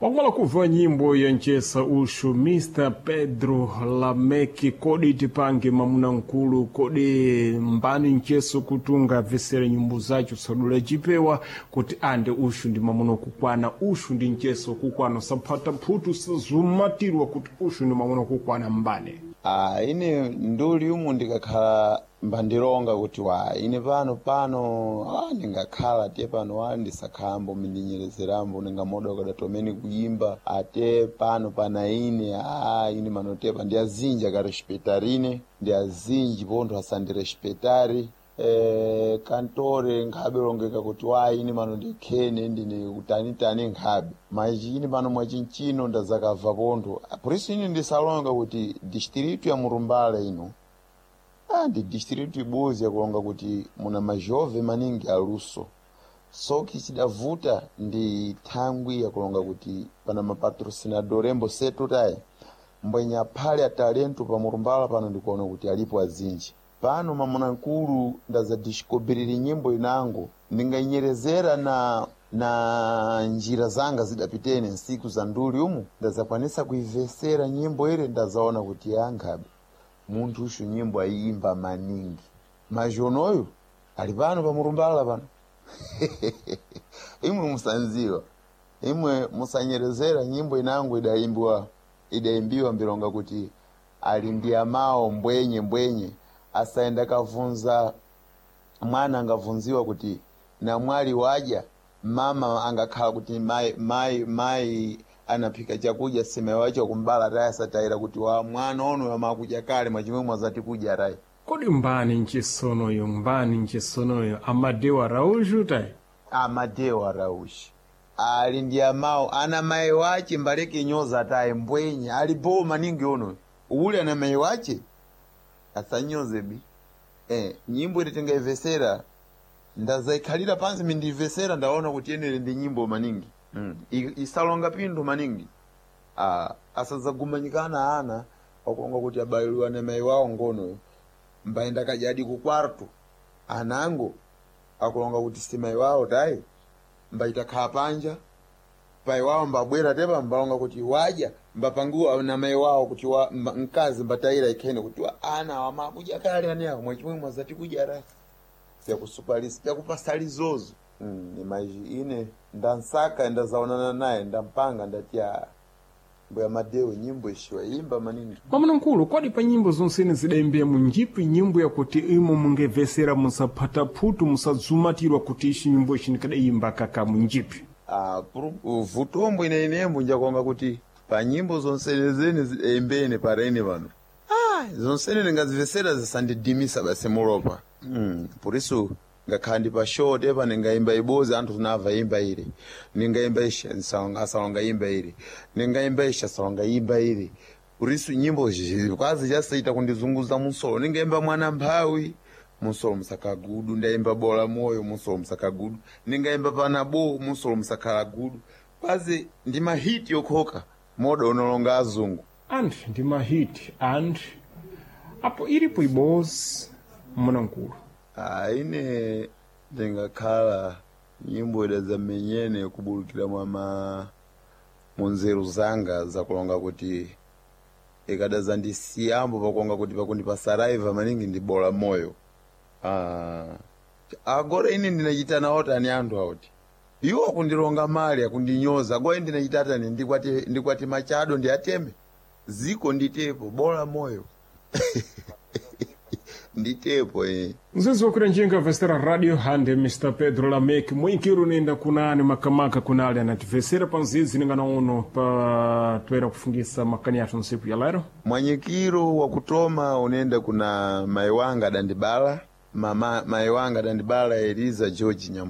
Wakumala kuva nyimbo ya nchesa uxu Mr Pedro Lameki, kodi tipange mamuna nkulu, kodi mbani ncheso kutunga vesere nyimbo zacho sadula chipewa kuti ande uxu ndi mamuna kukwana, uxu ndi ncheso kukwana, saphata mphutu sazumatirwa kuti uxu ndi mamuna kukwana mbane. Ah, ine nduli umu ndikakhala mbandilonga kuti wa ine pano pano ndingakhala te pano wa ndisakhambo mindinyerezerambo ningamoda kadatomene kuyimba ate pano pana ine ine manotepa ndi azinji akarespectarine ndi azinji pontho asandirespectari kantore nkhabe longeka kuti wa ine mano ndikhene ndine kutanitani nkhabe maiji ine pano mwachinchino ndazakabva pontho por isso ine ndisalonga kuti distrito ya Murumbala ino ndi distrito ibodzi yakulonga kuti muna majove maningi aluso soki chidavuta ndi thangwi yakulonga kuti pana mapatrocinador embo setu tayi mbwenya phale a talento pa Murumbala pano ndikuona kuti alipo azinji pano mamuna nkulu ndazadiscobrire nyimbo inango ndingainyerezera na njira zanga zidapitene nsiku za nduli umu ndazakwanisa kuivesera nyimbo ile ndazaona kuti yankhabe munthu ushu nyimbo ayimba maningi majonoyo ali pano pa Murumbala pano imwe musanziwa imwe musanyerezera nyimbo inango idaimbiwa idaimbiwa mbilonga kuti ali ndi amawo mbwenye mbwenye asaenda kavunza mwana angavunziwa kuti namwali wadya mama angakhala kuti mai mai mai anaphika chakudya sima wacho kumbala tayi asatayira kuti wa mwana ono amakudya kale mwachimwe mwazati kudya tayi. Kodi mbani nchesonoyo, mbani nchesonoyo Amadeu Araújo tayi? Amadeu Araújo ali ndi amawo ana mayi wache mbaleke nyoza tayi mbwenye ali bo maningi ono uli ana mayi wache asanyoze bi nyimbo ili tingaivesera ndazaikhalira pansi mindiyivesera ndaona kuti yenere ndi nyimbo maningi isalonga pindu maningi asazagumanyikana ana wakulonga kuti abayiliwa na mayi wawo ngonoyo mbayenda kajadi ku kwarto anango akulonga kuti si mayi wawo tayi mbayitakhala panja pai wawo mbabwera tepa mbalonga kuti wadya mbapanguwa na mayi wawo kuti wa mkazi mbatayira ikhene kuti wa ana awa makudya kale ani awo mwachimwe mwazati kudya ra vyakusupalisa vyakupasali zozo ni maji ine ndansaka ndazaonana naye ndampanga ndati mbuya Madeu nyimbo ishiwa imba maningi. Mwamuna nkulu, kodi pa nyimbo zonsene zidaimbira munjipi nyimbo yakuti imo mungevesera musaphata phutu musadzumatirwa kuti ishi nyimbo ishi ndikadaimba kaka munjipi? Vutombo ine inembo njakonga kuti pa nyimbo zonsene zene zidaimbene parene pano zonsene ndingazivesera zisandidimisa basi mulopa por isso ngakhala ndi pa show tepa ndingayimba ibozi anthu tinamva imba ile ndingayimba isha asalonga imba ile ndingayimba isha asalonga imba ile por isso nyimbo kwazi chasaita kundizunguza munsolo ndingayimba mwana mphawi munsolo musakagudu ndayimba bola moyo munsolo musakagudu ndingayimba panabo munsolo musakhala gudu kwazi ndi mahiti yokhoka moda unolonga azungu Anthu ndi mahiti anthu apo ilipo ibozi mwamuna nkulu. Ine ndingakhala nyimbo ida zamenyene kubulukira mwa munzeru zanga zakulonga kuti ikadazandisiyambo pakulonga kuti pakundipasaraiva maningi ndi bola moyo agora ine ndinachita nawo tani anthu auti iwo akundilonga mali akundinyoza agora ine ndinachita tani ndikwati machado ndiateme ziko nditepo bola moyo nditepo Mzinzi wakwira njinga vesera radio hande Mr Pedro Lameki mwinkiro nenda kunani makamaka kunali anativesera pa nzizi ningana uno pa toera kufungisa makani athu nsiku ya lero. Mwanyikiro wakutoma unenda kuna mayi wanga adandibala mama mayi wanga adandibala Eliza George Nyambo.